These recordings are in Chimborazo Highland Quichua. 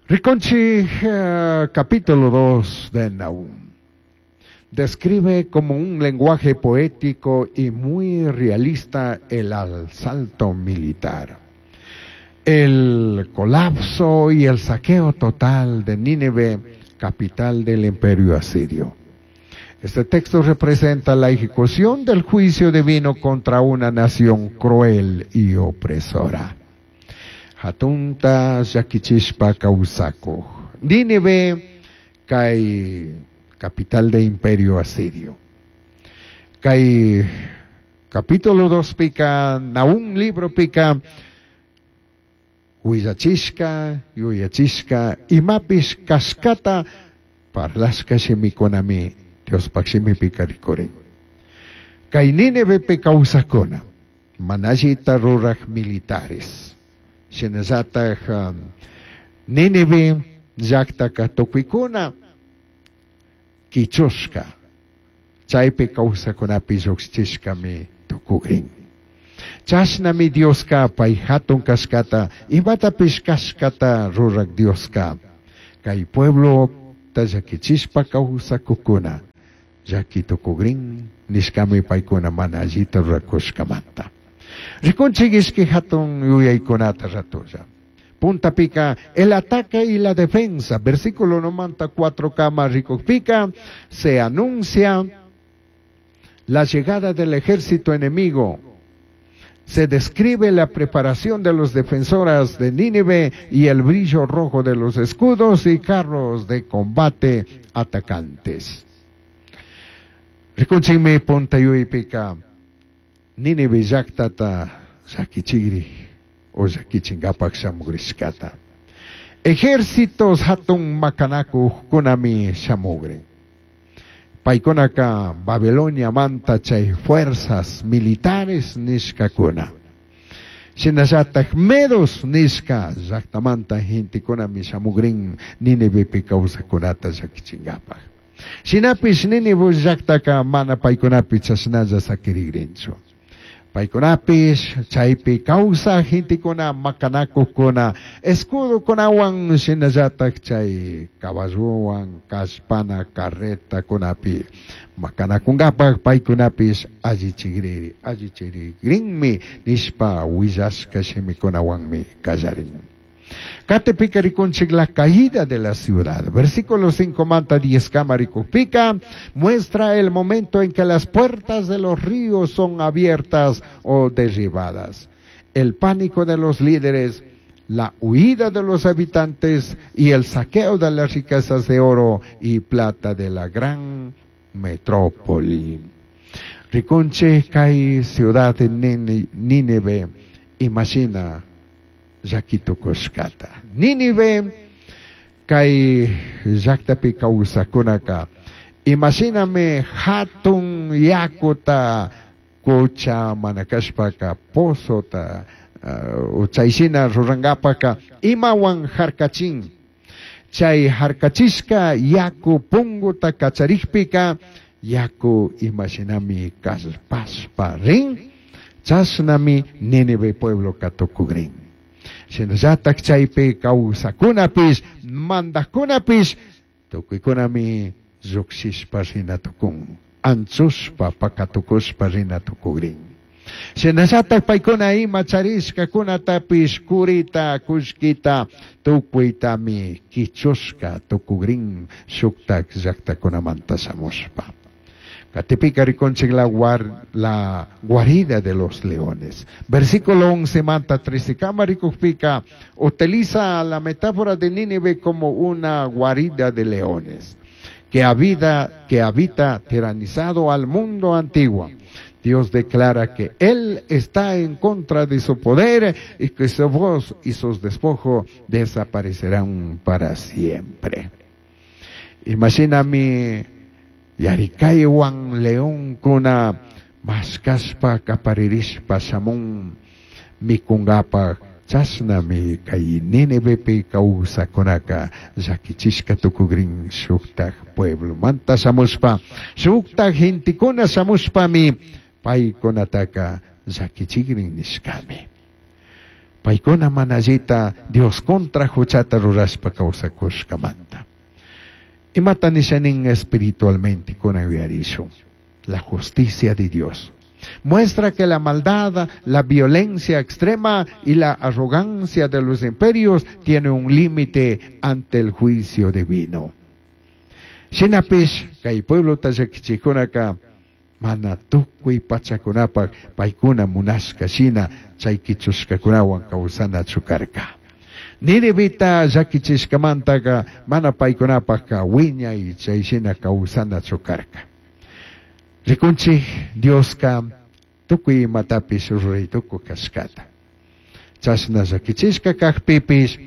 Rikunchij capítulo 2 de Nahum. Describe como un lenguaje poético y muy realista el asalto militar, el colapso y el saqueo total de Nínive, capital del imperio asirio. Este texto representa la ejecución del juicio divino contra una nación cruel y opresora. Hatunta llaquichishpa kawsakuj. Nínive kay capital de imperio asirio. Kay capítulo 2 pika, Nahum libro pika, huillachishka, yuyachishka, imapish kashkata parlashka shimikunami Diospaj shimipika rikurin. Kay Nínivepi kawsakuna, mana allita ruraj militares. Shinallataj Nínive llaktaka tukuykuna kichushka, chaypi kawsakunapi llukshishkami tukugrin. Chashnami Dioska pay hatun kashkata, imatapish kashkata ruraj Dioska. Kay pueblo llakichishpa kawsakukuna, llaki tukugrin nishkami paykuna mana allita rurakushkamanta. Rikunchik ishki hatun yuyaykunata ratulla. Puntapika, el ataque y la defensa. Versículo 94 kama rikukpika, se anuncia la llegada del ejército enemigo. Se describe la preparación de los defensores de Nínive y el brillo rojo de los escudos y carros de combate atacantes. Rikunchikmi punta yuypika, Nínive llaktata llakichigri o llakichingapak shamugrishkata. Ejércitos hatun makanakujkunami shamugrin. Paykunaka Babilonia manta chay fuerzas militares nishkakuna. Shinallataj medos nishka llaktamanta gentekunami shamugrin Nínivepi kawsakunata llakichingapak. Shinapish Nínive llaktaka mana paykunapi chashnalla sakirigrinchu. Paykunapish chaypi kawsaj gentekuna makanakujkuna escudokunawan shinallataj chay caballowan kallpana carretakunapi makanakungapak paykunapish allichigriri allichirigrinmi nishpa willashka shimikunawanmi kallarin. Katipika rikunchik la caída de la ciudad. Versículo 5 manta 10 kama rikukpika muestra el momento en que las puertas de los ríos son abiertas o derribadas. El pánico de los líderes, la huida de los habitantes y el saqueo de las riquezas de oro y plata de la gran metrópoli. Rikunchik kay ciudad de Nínive, imagina llakitukushkata. Nínive kay llaktapi kawsakunaka imashinami hatun yakuta kucha mana kashpaka pozota chayshina rurankapaka imawan harkachin. Chay harkachishka yaku punguta kacharikpika yaku imashinami kallpashpa rin chashnami Nínive pueblo katukugrin. Shinallataj chaypi kawsakunapish mandajkunapish tukuykunami llukshishpa rina tukun, anchushpa pakatukushpa rina tukugrin. Shinallataj paykuna ima charishkakunatapish kurita kullkita tukuytami kichushka tukugrin shuktak llaktakunamanta shamushpa. Katipika rikunchik la guarida de los leones. Versículo 11 manta 13 kama rikukpika utiliza la metáfora de Nínive como una guarida de leones que habita tiranizado al mundo antiguo. Dios declara que Él está en contra de su poder y que su voz y sus despojos desaparecerán para siempre. Imagíname yarikaywan leonkuna mashkashpa kaparirishpa shamun mikungapak chashnami kay Nínivepi kawsakunaka llakichishka tukugrin shuktaj pueblomanta shamushpa shuktaj gentekuna shamushpami paykunataka llakichigrin nishkami. Paykuna mana allita Dios contra huchata rurashpa kawsakushkamanta. Imata nisha nin espiritualmente kunan yuyarishun. La justicia de Dios. Muestra que la maldad, la violencia extrema y la arrogancia de los imperios tiene un límite ante el juicio divino. Shinapish kay pueblota llakichikkunaka mana tukuy pachakunapaj paykuna munashka shina chay qichushkakunawan kawsanachu karka. Ninivita llakichishkamantaka mana paykunapajka wiñay chay shina kawsanachu karka. Rikunchik Dioska tukuy imatapish ruray tukuy kashkata. Chashna llakichishka kajpipish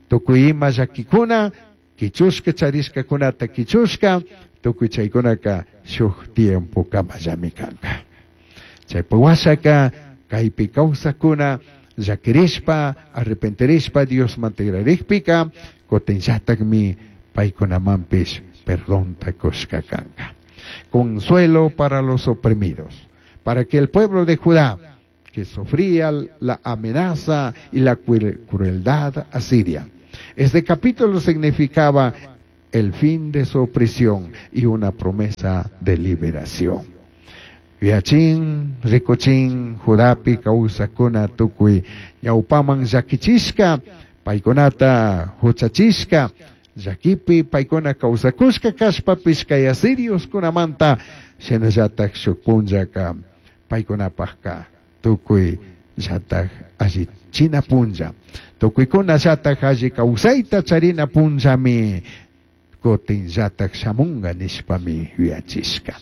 tukuy ima llakikuna qichushka charishkakunata qichushka tukuy chaykunaka shuk tiempo kamallami kanka. Chaypa washaka kaypi kawsakuna llakirishpa arrepentirishpa Diosman tigrarikpika kutinllatakmi paykunamanpish perdonta kushka kanka. Consuelo para los oprimidos, para que el pueblo de Judá, que sufría la amenaza y la crueldad asiria. Este capítulo significaba el fin de su opresión y una promesa de liberación. Yuyachin, rikuchin, Judapi kawsakuna tukuy ñawpaman llakichishka, paykunata huchachishka, llakipi paykuna kawsakushka kashpapish kay asirioskunamanta shinallatak shuk punllaka paykunapajka tukuy llatak allichina punlla, tukuykuna llatak alli kawsayta charina punllami kutin llatak shamunga nishpami yuyachishka.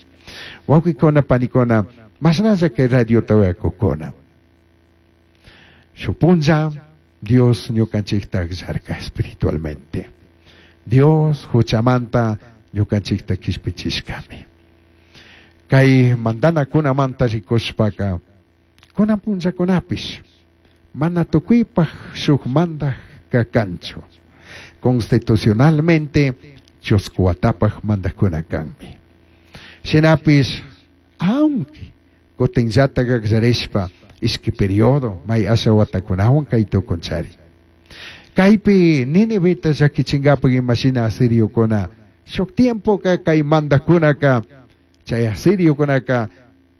Wawqikuna panikuna mashnalla kay radiota uyakukuna. Shuk punlla Dios ñukanchikta akllarka espiritualmente. Dios huchamanta ñukanchikta kishpichishkami. Kay mandanakunamanta rikushpaka kunan punllakunapish mana tukuypaj shuk mandajka kanchu. Constitucionalmente chusku watapaj mandajkuna kanmi. Shinapish aunque kutinllatak akllarishpa ishki periodo may asha watakunawan kay tukunchari. Kaypi Niniveta llakichinkapak imashina asiriokuna shuk tiempoka kay mandajkunaka chay asiriokunaka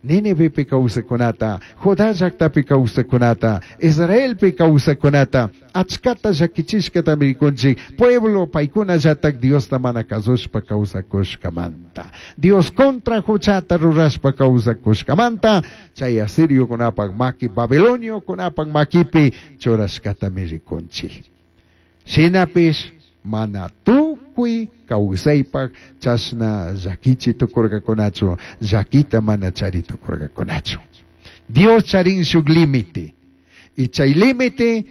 Ninivepi kawsakunata, Judá llaktapi kawsakunata, Israelpi kawsakunata, achkata llakichishkatami rikunchik, pueblo paykuna llatak Diosta mana kasushpa kawsakushkamanta. Dios contra huchata rurashpa kawsakushkamanta, chay asiriokunapak maki, babiloniokunapak makipi churashkatami rikunchik. Shinapish mana tukuy kawsaypak chashna llakichi tukurkakunachu, llakita mana chari tukurkakunachu. Dios charin shuk límite. Y chay límite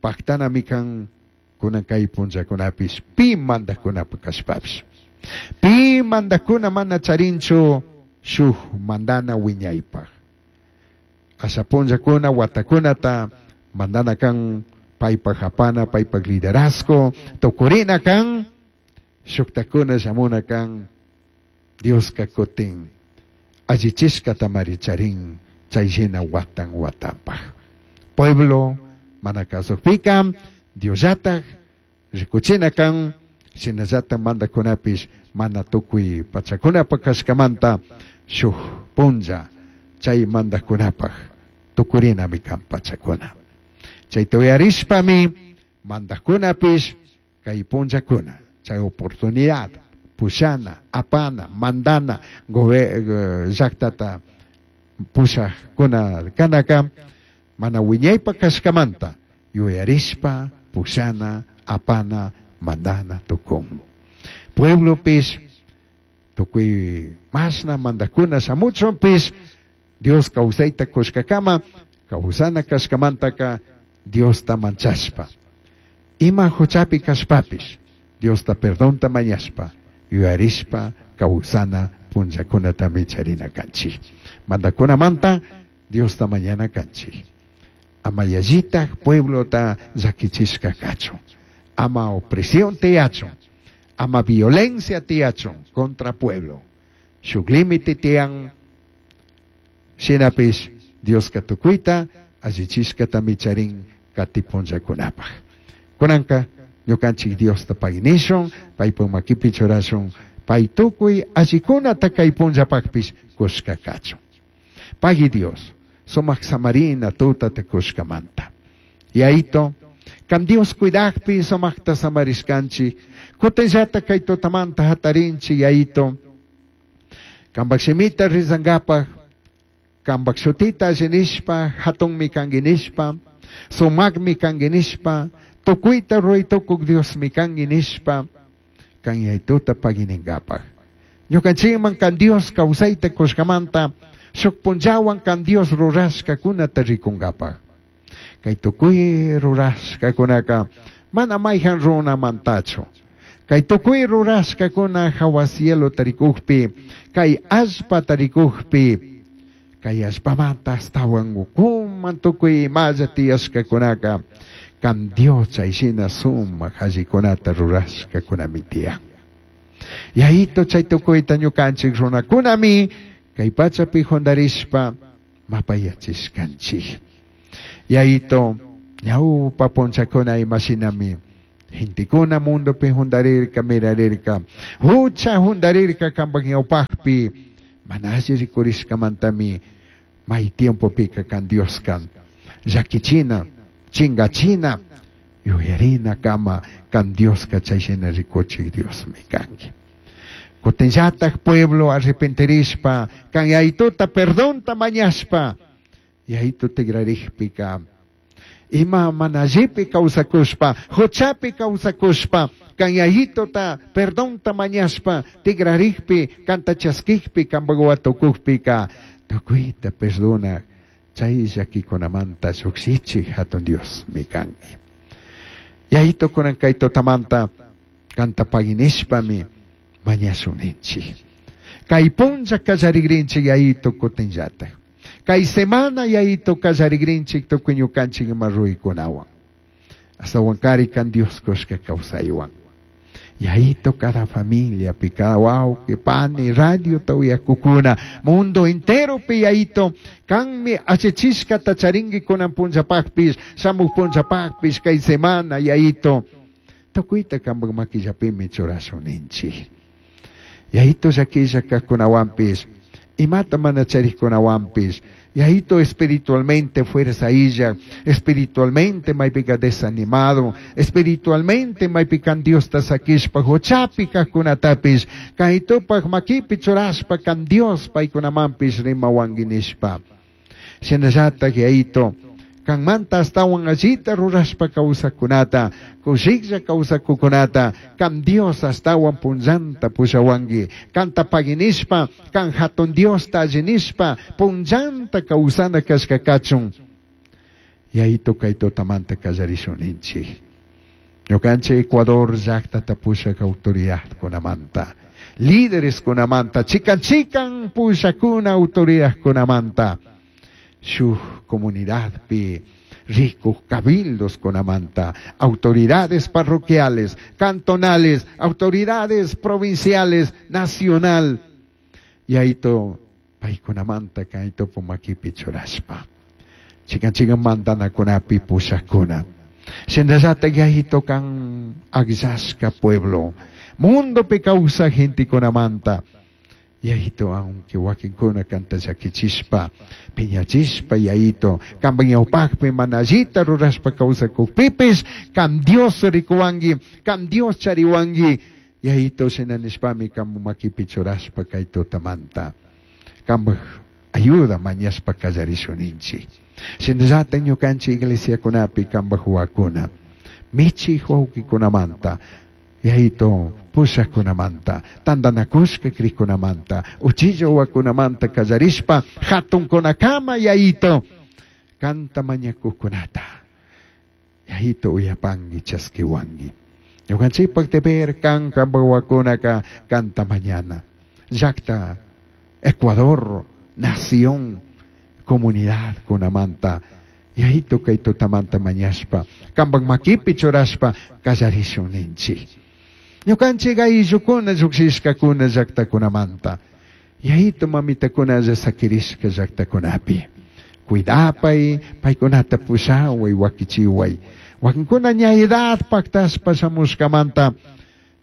paktanami kan kunan kay punllakunapish pi mandajkunapak kashpapish. Pi mandajkuna mana charinchu shuk mandana wiñaypaj. Asha punllakuna watakunata mandana kan paypaj apana, paypaj liderazgo, tukurina kan, shuktakuna shamuna kan, Dioska kutin allichishkatamari charin chay shina watan watanpaj. Pueblo mana kasukpika, Diosllatak rikuchina kan, shinallatak mandakunapish mana tukuy pachakunapak kashkamanta shuk punlla chay mandakunapaj tukurinami kan pachakuna. Chayta uyarishpami mandajkunapish kay punllakuna chay oportunidad pushana, apana, mandana llaktata pushajkuna kanaka mana wiñaypa kashkamanta yuyarishpa pushana, apana, mandana tukun. Pueblopish tukuy mashna mandajkuna shamuchunpish Dios kawsayta kushkakama kawsana kashkamantaka Diosta manchashpa. Ima huchapi kashpapish Diosta perdonta mañashpa yuyarishpa kawsana punllakunatami charina kanchik. Mandakunamanta Diosta mañana kanchik. Ama yallitaj pueblota llakichishka kachun. Ama opresión tiyachun. Ama violencia tiyachun contra pueblo. Shuk límite tiyan shinapish Dioska tukuyta allichishkatami charin Kati punllakunapaj. Kunanka ñukanchik Diosta paynishun, paypuk makipi churashun, pay tukuy allikunata kay punllapakpish kushka kachun. Pagui Dios, sumak samarina tutata kushkamanta. Yaito, kan Dios cuidakpi sumakta samarishkanchik, kutinllata kay tutamanta hatarinchik Yaito, kanpak shimita rizangapaj, kanpak shutita alli nishpa, hatunmi kanki nishpa, sumakmi kanki nishpa, tukuyta ruray tukuk Diosmi kanki nishpa, kan Yaituta pagui ningapaj. Ñukanchikman kan Dios kawsayta kushkamanta, shuk punllawan kan Dios rurashkakunata rikunkapaj. Kay tukuy rurashkakunaka mana mayjan runamantachu. Kay tukuy rurashkakuna hawa cielo tarikukpi, kay allpa tarikukpi, kay allpamanta astawan ukuman tukuy imalla tiyashkakunaka, kan Dios chayshina sumak allikunata rurashkakunami tiyan. Yaito chay tukuyta ñukanchik runakunami kay pachapi jundarishpa mapayachishkanchik. Yaito ñawpa punchakuna imashinami gentekuna mundopi jundarirka mirarirka, hucha jundarirka kanpak ñawpakpi, mana alli rikurishkamantami may tiempopika kan Dioska llakichina, chingachina, yuyarina kama kan Dioska chayshina rikuchik Diosmi kanki. Kutinllatak pueblo arrepentirishpa, kan Yaituta perdonta mañashpa, Yaitu tigrarikpika, ima mana allipi kawsakushpa, huchapi kawsakushpa, kan Yaituta perdonta mañashpa, tigrarikpi, kanta chaskikpi, kanpak watukukpika, tukuyta perdona, chay llakikunamanta llukshichik hatun Diosmi kanki. Yaito kunan kay tutamanta kanta paginishpami mañashuninchik. Kay punlla kallarigrinchik Yaito kutinllatak. Kay semana Yaito kallarigrinchik tukuy ñukanchik ima ruykunawan. Astawankari kan Dios kushka kawsaywan. Yaito cada familia pi, cada wawqi, pani, radio uyakukuna, mundo entero pi Yaito, kanmi achachishkata charinki kunan punllapakpish, shamuk punllapakpish, kay semana Yaito, tukuyta kanpak makillapimi churashuninchik. Yaito llakilla kajkunawanpish, imata mana charikkunawanpish, Yaito espiritualmente fuerza illa, espiritualmente maypika desanimado, espiritualmente maypikan Diosta sakishpa huchapi kajkunatapish, kaytupak makipi churashpa kan Dios paykunamanpish rimawanki nishpa. Shinallatak Yaito, kanmanta astawan allita rurashpa kawsakunata, kushiklla kawsakukunata, kan Dios astawan punllanta pushawanki, kanta paginishpa, kan hatun Diosta allinishpa, punllanta kawsana kashka kachun. Yaito kay tutamanta kallarishunninchik. Ñukanchik Ecuador llaktata pushak autoridadkunamanta, lídereskunamanta, chikan chikan pushakuna autoridadkunamanta, shuk comunidadpi ricos cabildos kunamanta, autoridades parroquiales, cantonales, autoridades provinciales, nacional. Yaito paykunamanta kayto pumakipi churashpa. Chikan chikan mandanakunapi pushakuna. Shinallata yaito kan akllashka pueblo, mundopi kawsak gentekunamanta. Yaito, aunque wakinkuna kanta llakichishpa, piñachishpa, yaito, kanpak ñawpakpi mana allita rurashpa kawsakukpipis, kan Dios rikuwanki, kan Dios chariwanki, yaito shina nishpami kanpak makipi churashpa kay tutamanta, kanpak ayuda mañashpa kallarishunninchik. Shinallata ñukanchik iglesiakunapi kanpak wawakuna, michik wawkikunamanta, yaito pushakkunamanta, tantanakushka krikkunamanta, uchilla wawakunamanta kallarishpa, hatunkunakama yaito, kanta mañakukkunata, yaito uyapanki chaskiwanki. Ñukanchikpak deber kan kanpak wawakunaka kanta mañana. Llakta, Ecuador, nación, comunidad kunamanta, yaito kay tutamanta mañashpa, kanpak makipi churashpa kallarishunninchik. Ñukanchik ayllukuna llukshishkakuna llaktakunamanta, yaito mamitakuna sakirishka llaktakunapi. Cuidapai, paykunata pushaway, wakichiway. Wakinkuna ña edad pactashpa shamushkamanta,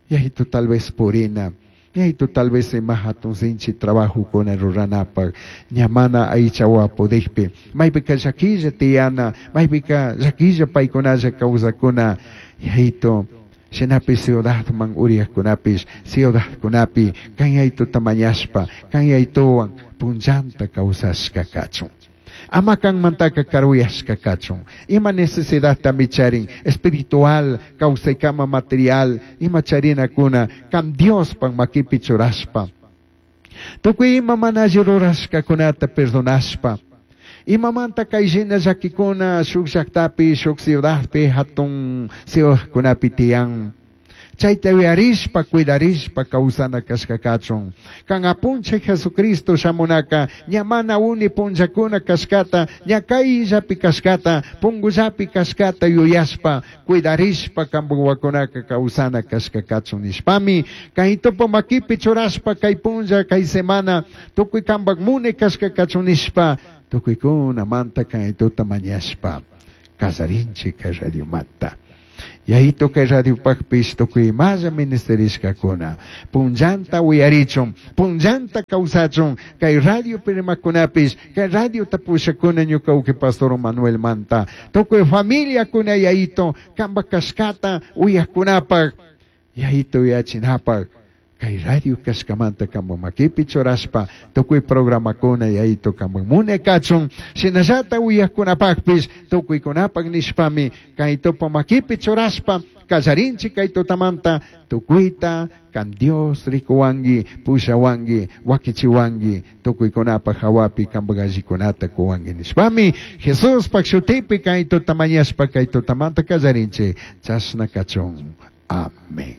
Yayitu tal vez purina, Yayitu tal vez ima hatun sinchi trabajokuna ruranapaj, ña mana aychawa pudijpi, maypika llaquilla tiyana, maypika llaquilla paykunalla kawsakuna, Yayitu, shinapish ciudadman uriyajkunapish, ciudadkunapi kan Yayituta mañashpa, kan Yayituwan punllanta kawsashka kachun. Ama kanmantaka karuyashka kachun. Ima necesidadtami charin, espiritual, kawsaykama material, ima charinakuna, kan Diospak makipi churashpa. Tukuy ima mana alli rurashkakunata perdonashpa. Imamanta kay shina llakikuna shuk llaktapi, shuk ciudadpi, hatun ciudadkunapi tiyan. Chayta yuyarishpa, cuidarishpa kawsana kashka kachun. Kan apunchik Jesucristo shamunaka, ña mana uni punllakuna kashkata, ña kayllapi kashkata, pungullapi kashkata yuyashpa, cuidarishpa kanpak wawakunaka kawsana kashka kachun nishpami, kay tupu makipi churashpa kay punlla, kay semana, tukuy kanpak muni kashka kachun nishpa, tukuykunamanta kaytuta mañashpa, kallarinchik kay radiomanta. Yayitu kay radiopajpish tukuy imalla ministerishkakuna, punllanta uyarichun, punllanta kawsachun, kay radiopi rimakunapish, kay radiota pushakuna ñuka uki pastor Manuelmanta, tukuy familiakuna Yayitu, kanpak kashkata uyajkunapaj, Yayitu uyachinapaj, kay radio kashkamanta kanpak makipi churashpa, tukuy programakuna Yayitu kanpak munay kachun, shinallata uyajkunapajpish, tukuykunapak nishpami, kay tupa makipi churashpa, kallarinchik kay tutamanta, tukuyta kan Dios rikuwanki, pushawanki, wakichiwanki, tukuykunapak hawapi kanpak allikunata kuwanki nishpami, Jesuspak shutipi kay tuta mañashpa kay tutamanta kallarinchik, chashna kachun. Amén.